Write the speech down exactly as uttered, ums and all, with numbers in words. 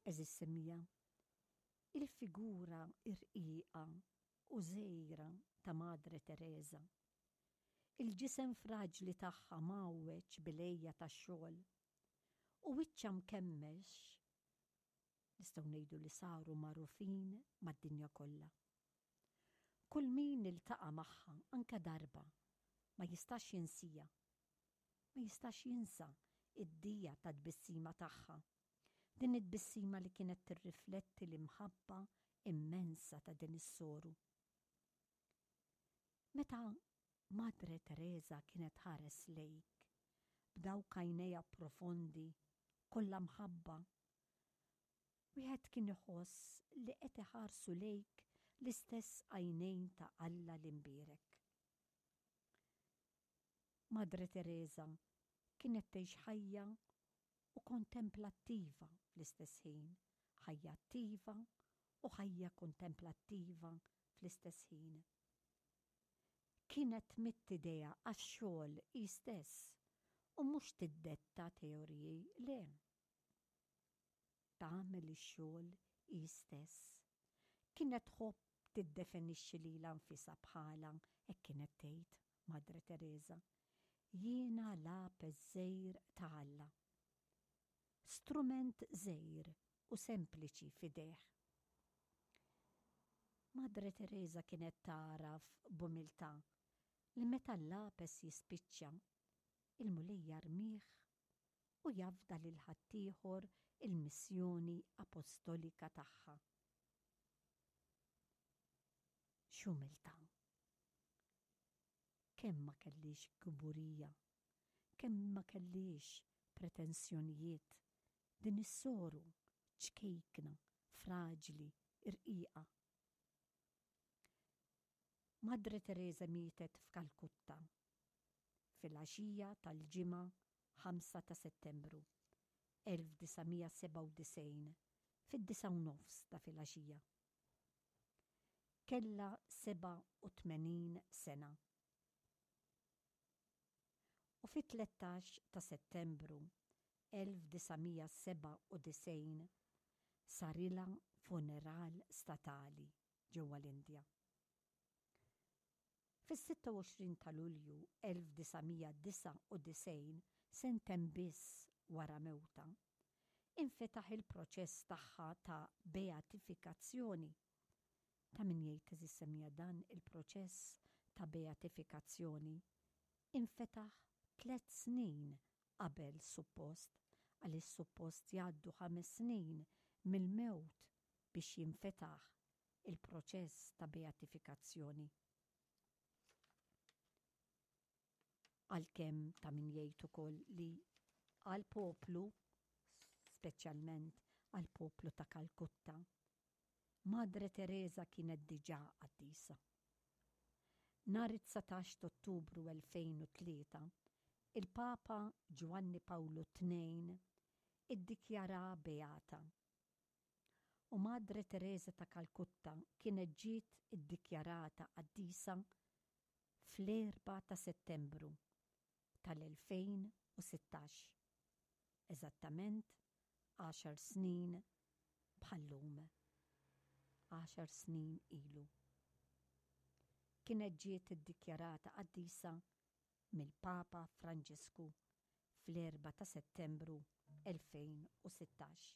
Għeżież semmiegħa, il-figura irqiqa u żgħira ta' Madre Teresa, il-ġisem fraġli tagħha mgħawweġ bil-għeja tax-xogħol u wiċċha mkemmex nistgħu ngħidu li saru magħrufin mad-dinja kollha. Kull min iltaqa' magħha anke darba ma jistax jinsieha. Ma jistax jinsa id-dija ta' tbissima tagħha. Din it-tbissima li kienet tirrifletti l-imħabba immensa ta' din is-soru. Meta Madre Teresa kienet tħares lejk b'dawk għajnejha profondi kollha mħabba, wieħed kien iħoss li qed iħarsu lejk l-istess għajnejn ta' Alla l-imbierek. Madre Teresa kienet tgħix ħajja u kontemplattiva fl-istess ħin, ħajja attiva u ħajja kontemplattiva fl-istess ħin. Kienet tmidd idejha għax-xogħol hi stess u mhux tiddetta teoriji, le. Tagħmel ix-xogħol hi stess. Kienet tħobb tiddefinixxi lilha nfisha bħala, hekk kienet tgħid Madre Teresa, jiena lapes żgħir ta' Alla. Strument żgħir u sempliċi f'idejh. Madre Teresa kienet tagħraf b'umiltà li meta l-lapes jispiċċa, il-Mulej jarmih u jafda lil ħaddieħor il-missjoni apostolika tagħha. X'umiltà! Kemm ma kellhiex kburija, kemm ma kellhiex pretensjonijiet din is-soru ċkejkna, fraġli, irqiqa. Madre Teresa mietet f'Kalkutta fil-għaxija tal-Ġimgħa ħamsa ta' Settembru elf disa' mija sebgħa u disgħin fid-disgħa u nofs ta' filgħaxija. Kellha sebgħa u tmenin sena. U fit-tlettax ta' Settembru elf disa' mija sebgħa u disgħin sarilha funeral statali ġewwa l-Indja. Fis-sitta u għoxrin ta' Lulju elf disa' mija disgħa u disgħin, sentejn biss wara mewtha, infetaħ il-proċess tagħha ta' beatifikazzjoni. Ta' min jgħid, għeżież semmiegħa, dan il-proċess ta' beatifikazzjoni infetaħ tliet snin qabel suppost, għaliex suppost jgħaddu ħames snin mill-mewt biex jinfetaħ il-proċess ta' beatifikazzjoni. Għalkemm ta' min jgħid ukoll li għall-poplu, speċjalment għall-poplu ta' Kalkutta, Madre Teresa kienet diġà qaddisa. Nhar it-dsatax t'Ottubru elfejn u tlieta, il-Papa Ġwanni Pawlu tnejn iddikjaraha beata. U Madre Teresa ta' Kalkutta kienet ġiet iddikjarata qaddisa fl-erbgħa ta' Settembru tal-elfejn u sittax, eżattament għaxar snin bħal-lum, għaxar snin ilu. Kienet ġiet iddikjarata qaddisa mill-Papa Franġisku fl-erbgħa ta' Settembru elfejn u sittax.